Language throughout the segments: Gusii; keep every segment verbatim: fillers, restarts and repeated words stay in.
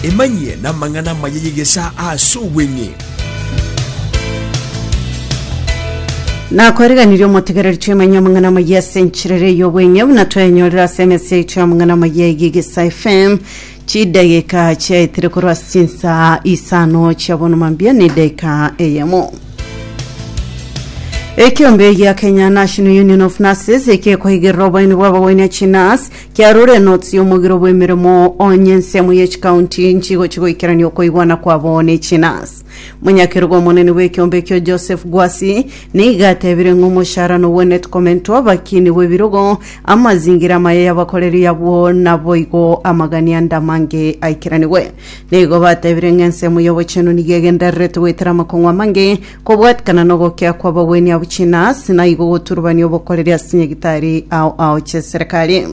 Emanyie namang'ana amaya y'egesaa ase obweng'e. Nakwariganirie omotegereri twemanye amang'ana amaya ase encherere y'obweng'e buna twaenyorera ase emesa yaito y'amang'ana amaya y'Egesa FM chidageka chiaetire korwa ase chinsa isano chia bono mambia na edageka eyemo. Ekiombe gia Kenya National Union of Nurses ekekoigerera oboini bwa abagwenia chinurse kiarure notes y'omogiro bw'emirimo onye ensemo ye chikaunti nchigo chigoikerania okoigwana kwabo ne chinurse. Monyakerogo omonene bw'ekiombe ekio Joseph Gwasi niga atebire ng'a omoshahara nobwenerete komentwa abakini bw'ebirogo amazingira amaya y'abakoreri abwo naboigo amagani ande amange aikeranigwe. Nigo batebire ng'a ensemo y'obochenu nigo egendererete goetera amakong'u amange kobwatikana na ogokea kwa abagweni abo chinurse na igo goturubania obokoreri ase chinyagitari ao ao chia serikali.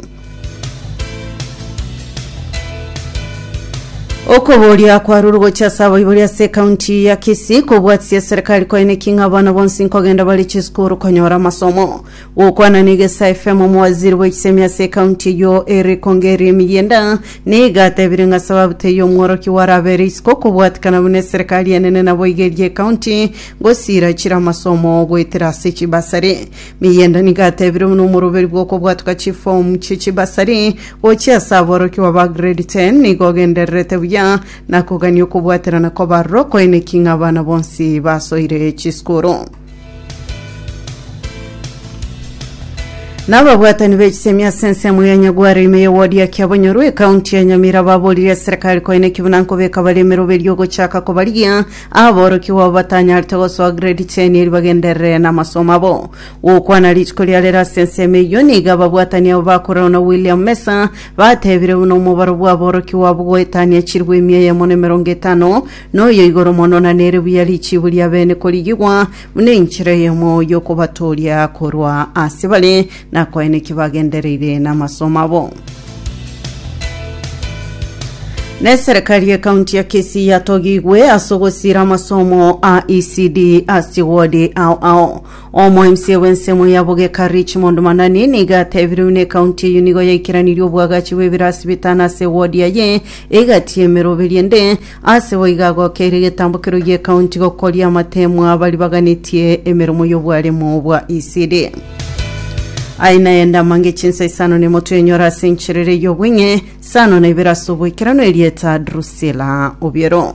Okoboria kwarure gochia ase abaibori ase ekaunti ya Kisii kobwatisia serikali koeneki ng'a abana bonsi nkogenda bare chisukuru konyora amasomo. Gokwana na Egesa FM omowaziri bwa echisemi ase ekaunti eyio Eric Ongeri Emiyienda niga atebire ng'a sababu teiyo omworokia warabere isiko kobwatikana buna eserikali enene nabo iga eria ekaunti gosira chire amasomo goetera ase chibasari. Miyienda niga atebire buna omoroberi bwa okobwatuka chifomu chie chibasari gochia ase aborokigwa ba grade ten nigo ogendererete buya na kogania okobwaterana kwa baroro koeneki ng'a abana bonsi basoire chisukuru. Nababwatani b'echisemi ase ensemo ya Nyagware ime y'ewodi ya Kiabonyoru ekaunti ya Nyamira baboririe eserikali koeneki buna nkobeka bare emeroberio ogochaka kobarigia aborokigwa abo batanyarete gosoa grade ten eri bagenderere na amasomo abo. Gokwana rituko ria rero ase ensemo eyio niga ababwatani abo bakorerwa na William Mesa batebire buna omobaro bwa aborokigwa abo goetania chirwe emia eyemo na emerongo etano noyo igoro mono na nere buya richibu ria bene korigigwa buna enchera eyemo y'okobatoria korwa ase bare na koeneki bagendereire na amasomo abo. Na eserikali y'ekaunti ya Kisii yatogigwe ase ogosira amasomo a E C D ase wodi ao ao. Omo M C A bw'ensemo ya Bogeka Richmond Manani niga atebire buna ekaunti eyio nigo yaikeranirie obwagachi bw'ebirasi bitano ase wodi yaye egati emeroberi ende ase boiga agokeire egetambokero gia ekaunti gokoria amatemo abari baganetie emeremo y'obwaremo bwa E C D. Aina yenda mange chinsa isano nemo twenyora ase encherere y'obweng'e sano na ibere ase oboikerano erieta Drusilla Obiero.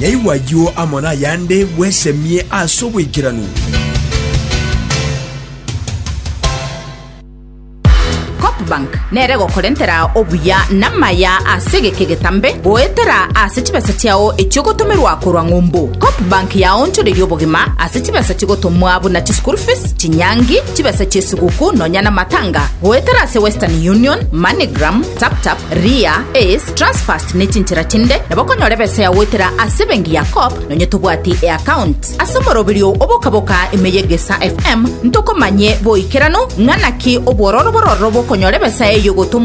Nyaigwa ayio amo na ayande bwesemie ase oboikeranu. Coopbank nere gokorentera obuya n'amaya ase egeke getambe goetera ase chibesa chiao echio gotomerwa korwa ng'umbu. Coopbank yaonchoreria obogima ase chibesa chigotomwa buna chischool fees, chinyangi, chibesa chi'esuguku nonya na matanga goetera ase Western Union, MoneyGram, TapTap, Ria, Ace, Transfast ne chinchera chinde nabo okonyora ebesa ya goetera ase ebenki ya Coop nonye tobwati eaccount ase omoroberio obokaboka ime y'Egesa F M ntokomanye boikeranu ng'a naki obwororo bororo bokonyora ebesa eyo gotomwa.